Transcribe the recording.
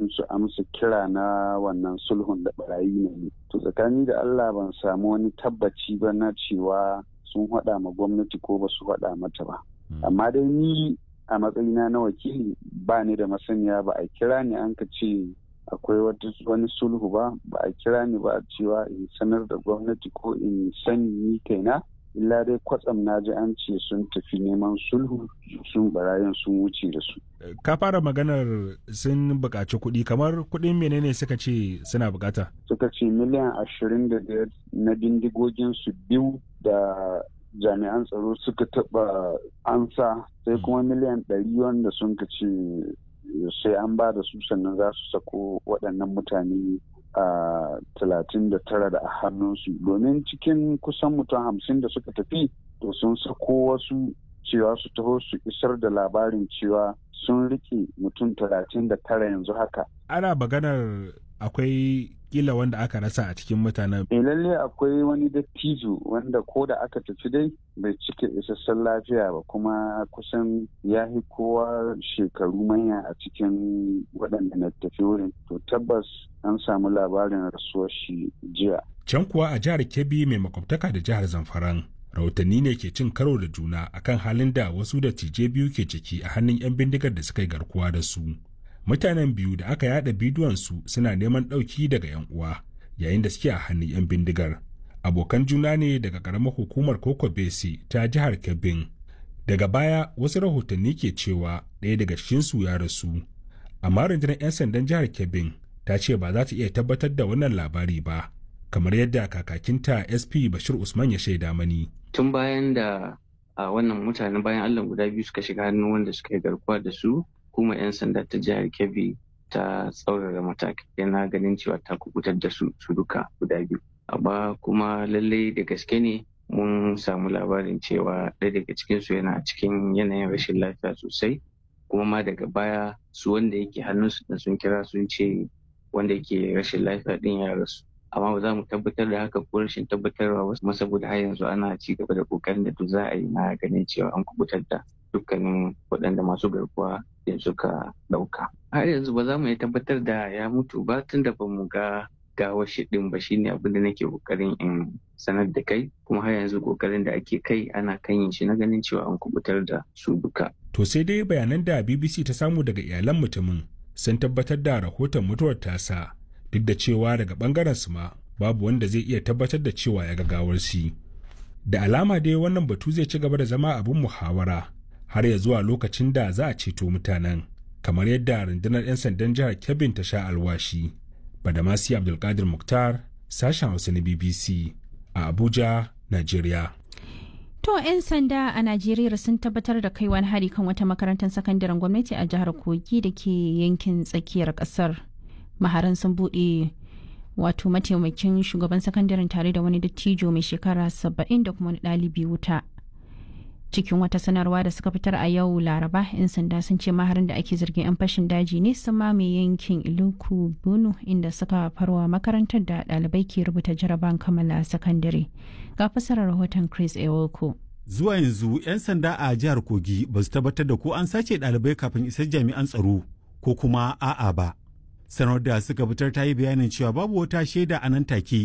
domin su amsa kira na wannan sulhun da barayi ne. To tsakani da Allah ban samu wani tabbaci ba na cewa sun haɗa ma gwamnati ko ba su haɗa mata ba. Amma dai ni a matsayina na wakili ba ni da masaniya, ba a kira ni an ka ce akwai wani sulhu ba, ba a kira ni ba cewa in sanar da gwamnati ko in sani ni kaina. Illa dai kwatsam na ji an ce sun tafi neman sulhu, sun barayin sun wuce da su. Ka fara maganar sun buƙaci kuɗi, kamar kuɗin menene suka ce suna buƙata? Suka ce miliyan 25 na bindigogin su biyu da jami'an tsaro suka taɓa ansa, sai kuma miliyan 100 wanda sun ka ce sai an ba da su sannan za su sako waɗannan mutane a 39 da a hannunsu, domin cikin kusan mutum 50 da suka tafi, to sun sako wasu cewa su taho su isar da labarin cewa sun rike mutum 39 yanzu haka. Ana maganar akwai kila wanda aka rasa a cikin mutanen. E, lalle akwai wani dattijo wanda ko da aka tafi dai bai cika isassun lafiya ba, kuma kusan ya fi kowa shekaru manya a cikin waɗanda na tafi wurin. To tabbas an samu labarin rasuwar shi jiya. Can kuwa a jihar Kebbi mai makwabtaka da jihar Zamfaran, rahotanni ne ke cin karo da juna akan halin da wasu dattijai biyu ke ciki a hannun 'yan bindigar da suka yi garkuwa da su. Mutanen biyu da aka yada bidiyon su suna neman ɗauki daga 'yan uwa yayin da suke a hannun 'yan bindigar. Abokan juna ne daga ƙaramar hukumar Koko Besi ta jihar Kebbin. Daga baya wasu rahotanni ke cewa ɗaya daga cikinsu ya rasu. Amma rundunar 'yan sandan jihar Kebbin ta ce ba za ta iya tabbatar da wannan labari ba, kamar yadda kakakinta SP Bashir Usman ya shaida mani. Tun bayan da a wannan mutanen bayan Allah guda biyu suka shiga hannun wanda suka yi garkuwa da su, hukumar 'yan sanda ta jihar Kebbi ta tsaurara matakai na ganin cewa ta kubutar da su su duka guda biyu. Amma kuma lallai da gaske ne mun samu labarin cewa ɗaya daga cikinsu yana cikin yanayin rashin lafiya sosai, kuma ma daga baya su wanda yake hannunsu da sun kira sun ce wanda yake rashin lafiya din ya rasu. Amma ba za mu tabbatar da haka ko rashin tabbatarwa ba kuma, saboda har yanzu ana ci gaba da kokarin da duk za a yi na ganin cewa an kubutar da dukkanin waɗanda masu garkuwa da suka ɗauka. Har yanzu ba za mu iya tabbatar da ya mutu ba tun da ba mu ga gawar shi ɗin ba, shine abin da nake kokarin in sanar da kai, kuma har yanzu kokarin da ake kai ana kan yin shi na ganin cewa an kubutar da su duka. To sai dai bayanan da BBC ta samu daga iyalan mutumin sun tabbatar da rahoton mutuwar tasa, duk da cewa daga bangaren su ma babu wanda zai iya tabbatar da cewa ya ga gawar shi. Da alama dai wannan batu zai ci gaba da zama abin muhawara har ya zuwa lokacin da za a ceto mutanen, kamar yadda rundunar 'yan sandan jihar Kebbin ta sha alwashi. Badamasi Abdulkadir Muktar, sashen Hausa na BBC a Abuja, Najeriya. To 'yan sanda a Najeriya sun tabbatar da kai wani hari kan wata makarantar sakandaren gwamnati a jihar Kogi da ke yankin tsakiyar kasar. Maharan sun buɗe wato mataimakin shugaban sakandaren tare da wani dattijo mai shekara 70 da kuma wani ɗalibi wuta. Cikin wata sanarwa da suka fitar a yau Laraba, 'yan sanda sun ce maharin da ake zargin 'yan fashin daji ne sun mamaye yankin Iluku Bunu, inda suka farwa makarantar da ɗalibai ke rubuta jaraban kammala sakandare. Ga fasarar rahoton Chris Ewoko. Zuwa yanzu 'yan sanda a jihar Kogi ba su tabbatar da ko an sace ɗalibai kafin isar jami'an tsaro ko kuma a'a ba. Sanar da suka fitar ta yi bayanin cewa babu wata shaida a nan take.